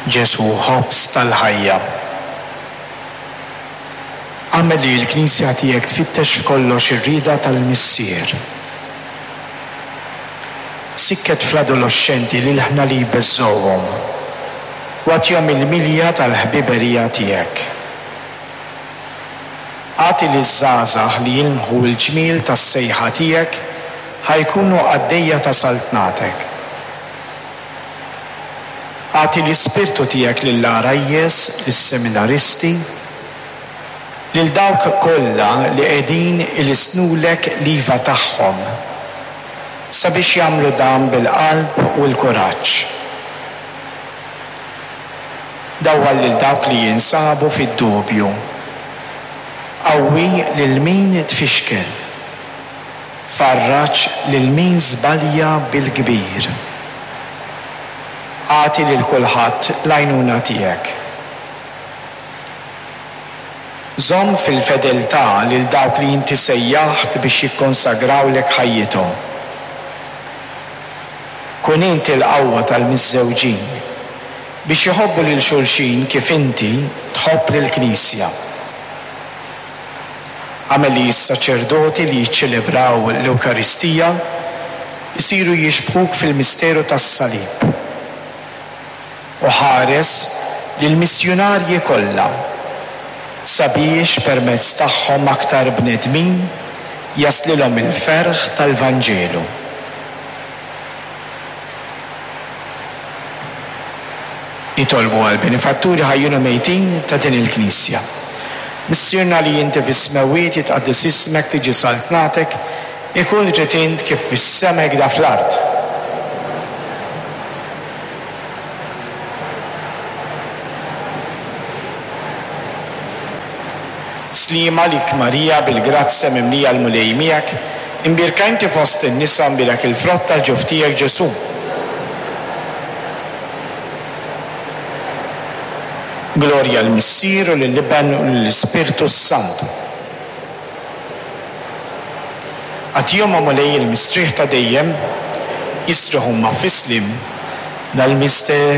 Ġesù ħobż tal-ħajja. Agħmel li l-Knisja tiegħek tfittex f'kollox ir-rieda tal-Missier. Sikket fl-adoloxxenti l-ilħna li jbeżżgħuhom, u agħtihom il-milja tal-ħbiberija tiegħek. Agħti liż-żgħażagħ li jilmħu l-ġmiel tas-sejħa tiegħek ħa jkunu qaddejja ta' saltnatek. Agħti l-Ispirtu tiegħek lill-għarajjes, lis-seminaristi, lil dawk kollha li qegħdin ilissnulek l-iva tagħhom, sabiex jagħmlu dan bil-qalb u l-kuraġġ. Dawwal lil dawk li jinsabu fid-dubju. Qawwi lil min tfixkel. Farraġ lil min żbalja bil-kbir. Agħti lil kulħadd l-għajnuna tiegħek. Żomm fil-fedeltà lil dawk li inti sejjaħt biex jikkonsagrawlek ħajjithom. Kun int il-qawwa tal-miżżewġin biex iħobbu lil xulxin kif inti tħobb lill-Knisja. Agħmel li s-saċerdoti li jiċċelebraw l-Ewkaristija jsiru jixbhuk fil-misteru tas-Salib, u ħares lill-missjunarji kollha sabiex permezz tagħhom aktar bnedmin jaslilhom il-ferħ tal-Vanġelu. Nitolbu għall-benefatturi ħajjin u mejtin ta' din il-Knisja. Missierna li inti fis-smewwiet, jitqaddes ismek, tiġi saltnatek, ikun li trid int kif fis-sema hekk da fl-art. Sliema għalik Marija, bil-grazzja mimlija l-Mulej miegħek, imbierka inti fost in-nisa, mbierek il-frott tal-ġuf tiegħek Ġesù. Glorja lill-Missier u lill-Iben u lill-Ispirtu s-Santu. Agħtihom, o Mulej, il-mistrieħ ta' dejjem, jistrieħu huma fis-sliem dal-misteru.